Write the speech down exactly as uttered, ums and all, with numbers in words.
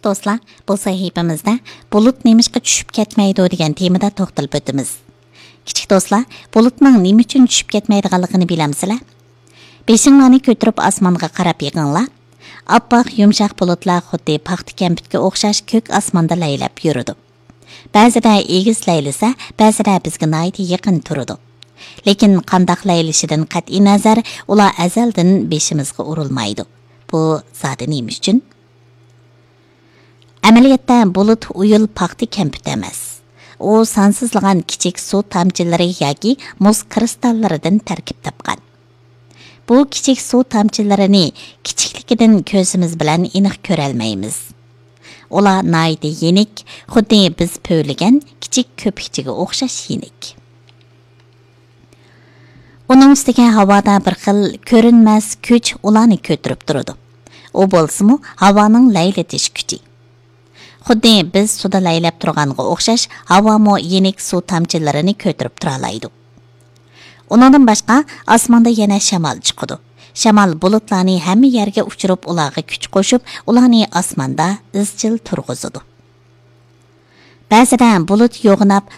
دوستلار، بۇ سەھىپىمىزدە بۇلۇت نېمىشقا چۈشۈپ كەتمەيدۇ دېگەن تېمىدا توختىلىپ ئۆتىمىز. كىچىك دوستلار، بۇلۇتنىڭ نېمە ئۈچۈن چۈشۈپ كەتمەيدىغانلىقىنى بىلەمسىلەر؟ بېشىڭلارنى كۆتۈرۈپ ئاسمانغا قاراپ بېقىڭلار. ئاپئاق يۇمشاق بۇلۇتلار خۇددى پاختا كەمپۈتكە ئوخشاش كۆك ئاسماندا لەيلەپ يۈرىدۇ. بەزىدە ئېگىز لەيلىسە، بەزىدە بىزگە ناھايىتى يېقىن تۇرىدۇ. لېكىن قانداق لەيلىشىدىن قەتئىينەزەر، ئۇلار ئەزەلدىن بېشىمىزغا ئۇرۇلمايدۇ. بۇ زادى نېمە ئۈچۈن؟ ئەمەلىيەتتە بۇلۇت ئۇيۇل پاختا كەمپۈت ئەمەس. ئۇ سانسىزلىغان كىچىك سۇ تامچىلىرى ياكى مۇز كىرىستاللىرىدىن تەركىب تاپقان. بۇ كىچىك سۇ تامچىلىرىنى كىچىكلىكىدىن كۆزىمىز بىلەن ئېنىق كۆرەلمەيمىز. ئۇلار ناھايىتى يېنىك، خۇددى بىز پۈۋلىگەن كىچىك كۆپۈكچىگە ئوخشاش يېنىك. ئۇنىڭ ئۈستىگە ھاۋادا بىر خىل كۆرۈنمەس كۈچ ئۇلارنى كۆتۈرۈپ تۇرىدۇ. ئۇ بولسىمۇ ھاۋانىڭ لەيلىتىش كۈچى. خۇددى بىز سۇدا لەيلەپ تۇرغانغا ئوخشاش، ھاۋامۇ يېنىك سۇ تامچىلىرىنى كۆتۈرۈپ تۇرالايدۇ. ئۇنىڭدىن باشقا، ئاسماندا يەنە شامال چىقىدۇ. شامال بۇلۇتلارنى ھەممە يەرگە ئۇچۇرۇپ، ئۇلارغا كۈچ قوشۇپ، ئۇلارنى ئاسماندا ئىزچىل تۇرغۇزىدۇ. بەزىدە بۇلۇت يوغىناپ،